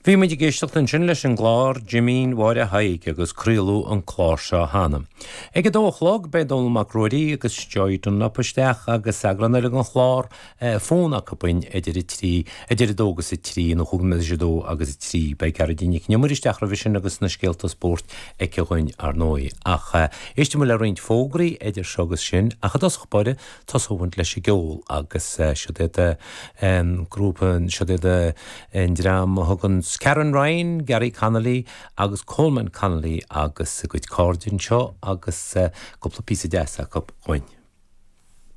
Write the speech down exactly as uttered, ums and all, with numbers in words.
Bhí muid ag éisteacht ansin leis an gclár Jimín Mháire Thaidhg agus craoladh an clár seo cheana. Ag a dó a chlog beidh Dónall Mac Ruairí agus Joy Dunlop isteach agus eagrán eile den chlár fón acu idir a trí idir a dó agus a trí nó chúig nóiméad tar éis a dó agus a trí beidh Gearóidín Nic an Iomaire isteach roimhe sin agus na scéalta spóirt aici dhúinn ar ndóigh. Ach éistfidh muid le roinnt fógraí idir seo agus sin ach i dtosach báire tosóidh muid leis an gceol agus siod iad grúpa siod iad an dream a thugann Karen Ryan, Gary Connolly agus Coleman Connolly agus a gcuid cairde anseo agus cúpla píosa deas acu dhúinn.